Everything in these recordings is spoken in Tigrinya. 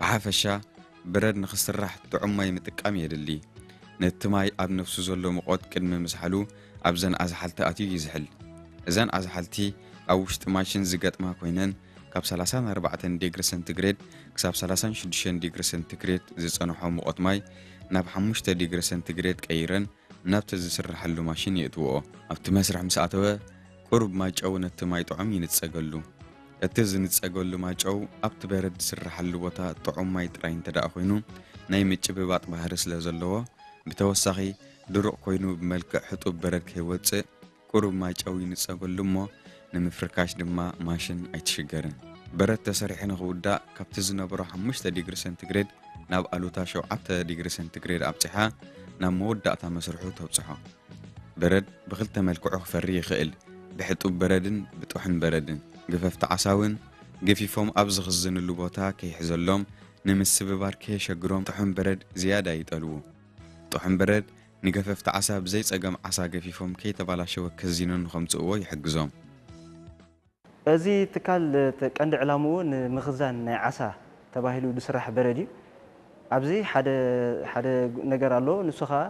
ብሓፈሻ፣ በረድ ንኽስራሕ ጥዑም ማይ ምጥቃም የድሊ። ነቲ ማይ ኣብ ነፍሱ ዘሎ ሙቐት ቅድሚ ምዝሓሉ ኣብዘን ኣዝሓልቲ ኣትዩ ይዝሕል። እዘን ኣዝሓልቲ ኣብ ውሽጢ ማሽን ዝገጥማ ኮይነን፣ ካብ ሰላሳን ኣርባዕተን ዲግሪ ሰንቲግሬድ ክሳብ ሰላሳን ሽዱሽተን ዲግሪ ሰንቲግሬድ ዝጸንሖ ሙቐት ማይ ናብ ሓሙሽተ ዲግሪ ሰንቲግሬድ ቀይረን ናብቲ ዝስርሓሉ ማሽን የእትውኦ። ኣብቲ መስርሕ ምስ ኣተወ፣ ቁሩብ ማይጨው ነቲ ማይ ጥዑም ይንጸገሉ። እቲ ዝንጸገሉ ማይጨው ኣብቲ በረድ ዝስርሓሉ ቦታ ጥዑም ማይ ጥራይ እንተ ደኣ ኮይኑ፣ ናይ ምጭብባጥ ባህሪ ስለ ዘለዎ፣ ብተወሳኺ ድሩቕ ኮይኑ ብመልክዕ ሕጡብ በረድ ከይወጽእ ቁሩብ ማይጨው ይንጸገሉ እሞ፣ ንምፍርካሽ ድማ ማሽን ኣይትሽገርን። በረድ ተሰሪሑ ንኽውዳእ ካብቲ ዝነበሮ ሓሙሽተ ዲግሪ ሰንቲግሬድ ናብ ኣሉታ ሸውዓተ ዲግሪ ሰንቲግሬድ ኣብጺሓ ናብ መወዳእታ መስርሑ ተብጽሖ። በረድ ብኽልተ መልክዑ ክፈሪ ይኽእል፣ ብሕጡብ በረድን ብጥሑን በረድን። ገፈፍቲ ዓሳ እውን ገፊፎም ኣብ ዝኽዝንሉ ቦታ ከይሕዘሎም፣ ንምስብባር ከየሸግሮም ጥሑን በረድ ዝያዳ ይጠልቡ። ጥሑን በረድ ንገፈፍቲ ዓሳ ብዘይ ጸገም ዓሳ ገፊፎም ከይተባላሸወ ከዚኖን ከምጽእዎ ይሕግዞም። እዚ ትካል እቲ ቀንዲ ዕላምኡ ንምኽዛን ናይ ዓሳ ተባሂሉ ዝስራሕ በረድ እዩ። ኣብዚ ሓደ ሓደ ነገር ኣሎ። ንሱ ኸኣ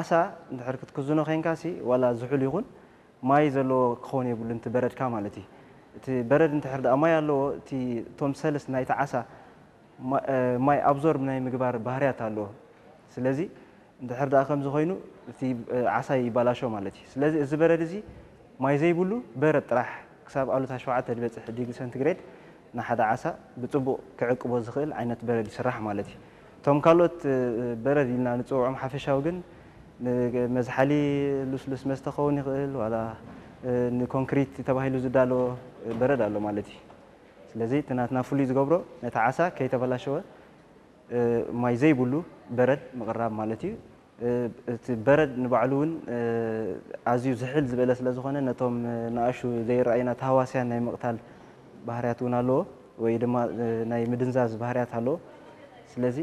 ዓሳ እንድሕር ክትክዝኖ ኾይንካሲ ዋላ ዝሑል ይኹን ማይ ዘለዎ ክኸውን የብሉን እቲ በረድካ ማለት እዩ። እቲ በረድ እንድሕር ደኣ ማይ ኣለዎ እቲ እቶም ሰልስ ናይቲ ዓሳ ማይ ኣብዞርብ ናይ ምግባር ባህርያት ኣለዎ። ስለዚ እንድሕር ደኣ ከምዚ ኮይኑ እቲ ዓሳ ይባላሾ ማለት እዩ። ስለዚ እዚ በረድ እዚ ማይ ዘይብሉ በረድ ጥራሕ ክሳብ ኣሉታ ሸውዓተ ዝበፅሕ ዲግሪ ሰንቲግሬድ ንሓደ ዓሳ ብፅቡቕ ክዕቅቦ ዝኽእል ዓይነት በረድ ይስራሕ ማለት እዩ። እቶም ካልኦት በረድ ኢልና ንፅውዖም ሓፈሻዊ ግን ንመዝሓሊ ልስሉስ መስተ ክኸውን ይኽእል ዋላ ንኮንክሪት ተባሂሉ ዝዳሎ በረድ ኣሎ ማለት እዩ። ስለዚ እቲ ናትና ፍሉይ ዝገብሮ ነቲ ዓሳ ከይተበላሸወ ማይ ዘይብሉ በረድ ምቕራብ ማለት እዩ። እቲ በረድ ንባዕሉ እውን ኣዝዩ ዝሕል ዝበለ ስለ ዝኾነ ነቶም ንኣሹ ዘይረኣዩና ተሃዋስያን ናይ ምቕታል ባህርያት እውን ኣለዎ ወይ ድማ ናይ ምድንዛዝ ባህርያት ኣለዎ። ስለዚ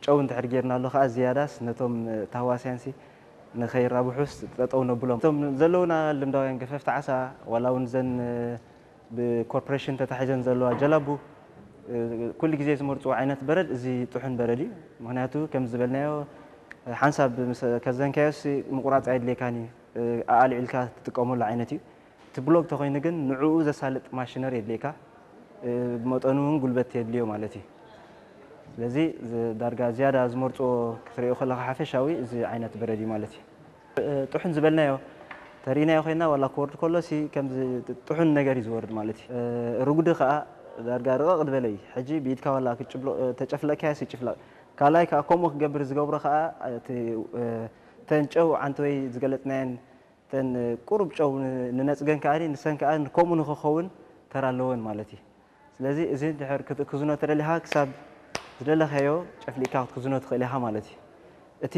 ጨው እንድሕር ጌርናሉ ከዓ ዝያዳስ ነቶም ተሃዋስያንሲ ንኸይራብሑስ ጠጠው ነብሎም። እቶም ዘለውና ልምዳውያን ገፈፍቲ ዓሳ ዋላ እውን ዘን ብኮርፖሬሽን ተታሒዘን ዘለዋ ጀላቡ ኩሉ ግዜ ዝመርፅዎ ዓይነት በረድ እዚ ጥሑን በረድ እዩ። ምክንያቱ ከም ዝበልናዮ ሓንሳብ ምስ ከዘንካዮስ ምቁራፅ ኣይድልየካን እዩ። ኣልዒልካ ትጥቀመሉ ዓይነት እዩ። እቲ ብሎክ ተኮይኑ ግን ንዕኡ ዘሳልጥ ማሽነር የድልየካ። ብመጠኑ እውን ጉልበት የድልዮ ማለት እዩ። ስለዚ ዳርጋ ዝያዳ ዝመርፅዎ ክትሪኦ ከለካ ሓፈሻዊ እዚ ዓይነት በረድ እዩ ማለት እዩ። ጥሑን ዝበልናዮ ተሪእናዮ ኮይና ዋላ ክወርድ ከሎ ሲ ከምዚ ጥሑን ነገር እዩ ዝወርድ ማለት እዩ። ርጉዲ ከዓ ዳርጋ ርቕቕ ዝበለ እዩ። ሕጂ ብኢድካ ዋላ ክትጭብሎ ተጨፍለቅካዮ ሲ ጭፍለቅ። ካልኣይ ከዓ ከምኡ ክገብር ዝገብሮ ከዓ እቲ ተን ጨው ዓንተወይ ዝገለፅናየን ተን ቁሩብ ጨው ንነፅገን ከዓ ንሰን ከዓ ከምኡ ንክኸውን ተራ ኣለወን ማለት እዩ። ስለዚ እዚ ድሕር ክትእክዝኖ ተደሊኻ ክሳብ ዝደለኻዮ ጨፍሊቕካ ክትክዝኖ ትኽእል ኢኻ ማለት እዩ። እቲ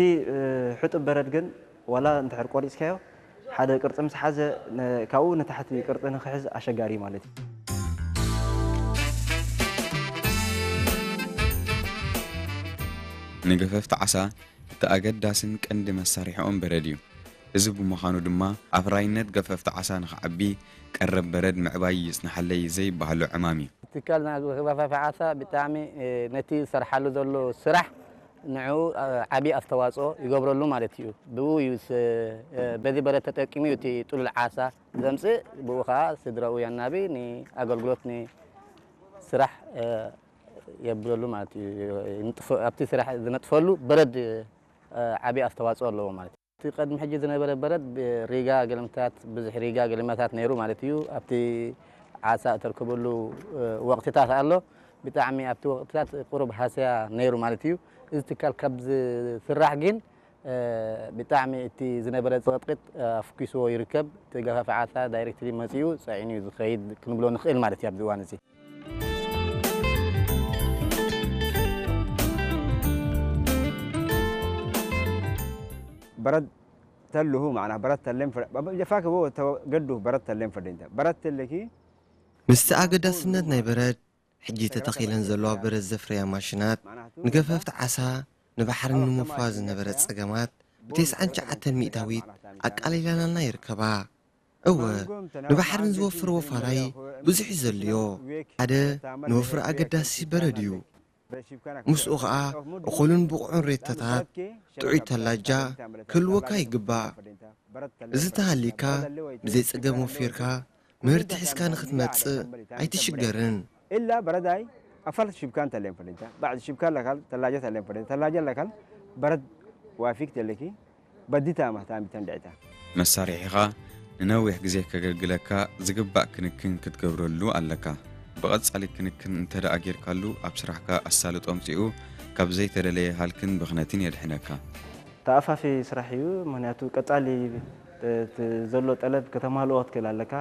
ሕጡብ በረድ ግን ዋላ እንድሕር ቆሪፅካዮ ሓደ ቅርፂ ምስ ሓዘ ካብኡ ንታሕቲ ቅርፂ ንክሕዝ ኣሸጋሪ ማለት እዩ። ንገፈፍቲ ዓሳ እቲ ኣገዳስን ቀንዲ መሳርሒኦም በረድ እዩ። እዚ ብምዃኑ ድማ ኣፍራይነት ገፈፍቲ ዓሳ ንኽዓቢ ቀረብ በረድ ምዕባይ ይጽንሓለይ ዘይበሃሎ ዕማም እዩ። ትካል ገፈፍቲ ዓሳ ብጣዕሚ ነቲ ዝሰርሓሉ ዘሎ ስራሕ ንዕኡ ዓቢ ኣስተዋፅኦ ይገብረሉ ማለት እዩ። ብኡ እዩ በዚ በረድ ተጠቂሙ እዩ እቲ ጥሉል ዓሳ ዘምፅእ፣ ብኡ ከዓ ስድራኡ የናቢ፣ ንኣገልግሎት ንስራሕ የብለሉ ማለት እዩ። ኣብቲ ስራሕ ዝነጥፈሉ በረድ ዓብዪ ኣስተዋፅኦ ኣለዎ ማለት እዩ። እቲ ቀድሚ ሕጂ ዝነበረ በረድ ሪጋ ገለመታት፣ ብዙሕ ሪጋ ገለመታት ነይሩ ማለት እዩ። ኣብቲ ዓሳ እተርከበሉ ወቕትታት ኣሎ። ብጣዕሚ ኣብቲ ወቕትታት ቁሩብ ሃስያ ነይሩ ማለት እዩ። እዚ ትካል ካብ ዝስራሕ ግን ብጣዕሚ እቲ ዝነበረ ፅቕጥቅጥ ኣፍኪስዎ ይርከብ። እቲ ገፋፊ ዓሳ ዳይሬክትሊ መፂኡ ፀዒኑ እዩ ዝኸይድ ክንብሎ ንኽእል ማለት እዩ ኣብዚ እዋን እዚ። በረድ ተልሁ ማዕና በረድ ተሌም ፈ- በ- ጀፋክ ቦ ተወ- ገዱ በረድ ተሌም ፈደኝተ በረድ ተለኪ ምስቲ ኣገዳስነት ናይ በረድ፣ ሕጂ ተተኺለን ዘለዋ በረድ ዘፍርያ ማሽናት፣ ንገፈፍቲ ዓሳ ንባሕሪ ንምፍዋስ ዝነበረ ጸገማት፣ ብተስዓን ትሽዓተን ሚእታዊት ኣቃሊላናልና ይርከባ። እወ፣ ንባሕሪ ንዝወፍር ወፋራይ ብዙሕ እዩ ዘድልዮ። ሓደ ንወፍሪ ኣገዳሲ በረድ እዩ። ምስኡ ኸኣ እኹልን ብቑዕን ሬቶታት፣ ጥዑይ ተላጃ ክህልወካ ይግባእ። እዚ ተሃሊካ ብዘይ ጸገም ወፊርካ ምህርቲ ሒዝካ ንኽትመጽእ ኣይትሽገርን። إلا برد هاي أفل شبكان تلين فلنتا بعد شبكان لكال تلاجة تلين فلنتا تلاجة لكال برد وافيك تلكي بديتا مهتام تندعتا መሳርሒኻ ንነዊሕ ግዜ ከገልግለካ ዝግባእ ክንክን ክትገብረሉ ኣለካ። ብቐጻሊ ክንክን እንተ ደኣ ጌርካሉ፣ ኣብ ስራሕካ ኣሳልጦ ኣምጺኡ ካብ ዘይተደለየ ሃልክን ብኽነትን የድሕነካ። ተኣፋፊ ስራሕ እዩ። ምኽንያቱ ቀጻሊ እቲ ዘሎ ጠለብ ከተማልኦ ክትክእል ኣለካ።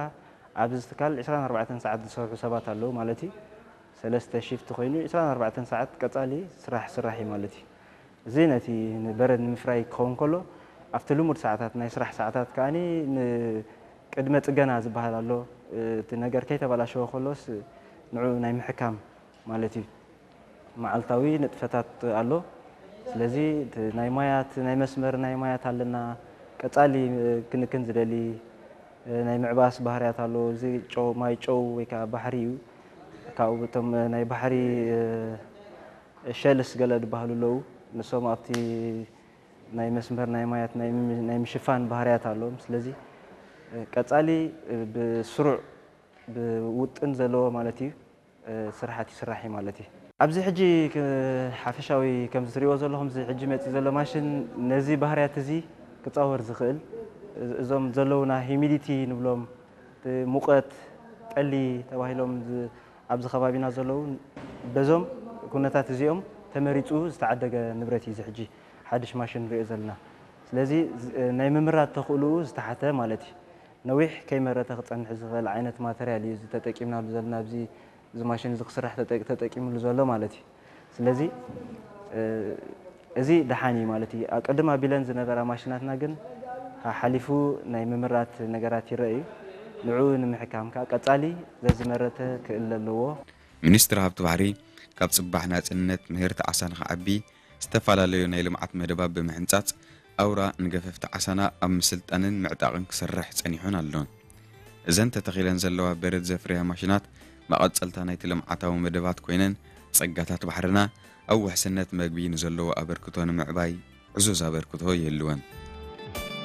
ኣብዚ ትካል ዕስራን ኣርባዕተን ሰዓት ዝሰርሑ ሰባት ኣለዉ ማለት እዩ። ሰለስተ ሽፍት ኮይኑ ዕስራን ኣርባዕተን ሰዓት ቀጻሊ ስራሕ ስራሕ እዩ ማለት እዩ። እዚ ነቲ በረድ ንምፍራይ ክኸውን ከሎ፣ ኣብቲ ልሙድ ሰዓታት፣ ናይ ስራሕ ሰዓታት ከኣ ቅድመ ጽገና ዝበሃል ኣሎ። እቲ ነገር ከይተበላሸወ ከሎስ ንዑ ናይ ምሕካም ማለት እዩ። መዓልታዊ ንጥፈታት ኣሎ። ስለዚ እቲ ናይ ማያት ናይ መስመር ናይ ማያት ኣለና። ቀጻሊ ክንክን ዝደሊ ናይ ምዕባስ ባህርያት ኣሎ። እዚ ጨው ማይ ጨው ወይ ከዓ ባሕሪ እዩ። ካብኡ እቶም ናይ ባሕሪ ሸልስ ገለ ዝበሃሉ ኣለዉ። ንሶም ኣብቲ ናይ መስመር ናይ ማያት ናይ ምሽፋን ባህርያት ኣለዎም። ስለዚ ቀጻሊ ብስሩዕ ብውጥን ዘለዎ ማለት እዩ ስራሓት ይስራሕ እዩ ማለት እዩ። ኣብዚ ሕጂ ሓፈሻዊ ከምዚ ትሪእዎ ዘለኹም እዚ ሕጂ መፂ ዘሎ ማሽን ነዚ ባህርያት እዚ ክፃወር ዝኽእል እዞም ዘለውና ሂሚዲቲ ንብሎም ሙቐት ጠሊ ተባሂሎም ኣብዚ ከባቢና ዘለዉ በዞም ኩነታት እዚኦም ተመሪፁ ዝተዓደገ ንብረት እዩ እዚ ሕጂ ሓድሽ ማሽን ንሪኦ ዘለና። ስለዚ ናይ ምምራት ተኽእልኡ ዝተሓተ ማለት እዩ። ነዊሕ ከይመረተ ክፀንሕ ዝኽእል ዓይነት ማተርያል እዩ እዚ ተጠቂምናሉ ዘለና ኣብዚ እዚ ማሽን እዚ ክስራሕ ተጠቂምሉ ዘሎ ማለት እዩ። ስለዚ እዚ ደሓን እዩ ማለት እዩ። ቅድም ኣቢለን ዝነበራ ማሽናትና ግን ሓሓሊፉ ናይ ምምራት ነገራት ይረአ እዩ። ንዕኡ ንምሕካም ከዓ ቀፃሊ ዘዝመረተ ክእለ ኣለዎ። ሚኒስትሪ ሃብቲ ባሕሪ ካብ ፅባሕ ናፅነት ምህርቲ ዓሳ ንኽዓቢ ዝተፈላለዩ ናይ ልምዓት መደባት ብምሕንፃፅ ኣውራ ንገፈፍቲ ዓሳና ኣብ ምስልጣንን ምዕጣቕን ክሰርሕ ፀኒሑን ኣሎን። እዘን ተተኺለን ዘለዋ በረድ ዘፍርያ ማሽናት መቐፀልታ ናይቲ ልምዓታዊ መደባት ኮይነን ፀጋታት ባሕርና ኣብ ውሕስነት መግቢ ንዘለዎ ኣበርክቶ ንምዕባይ ዕዙዝ ኣበርክቶ ይህልወን።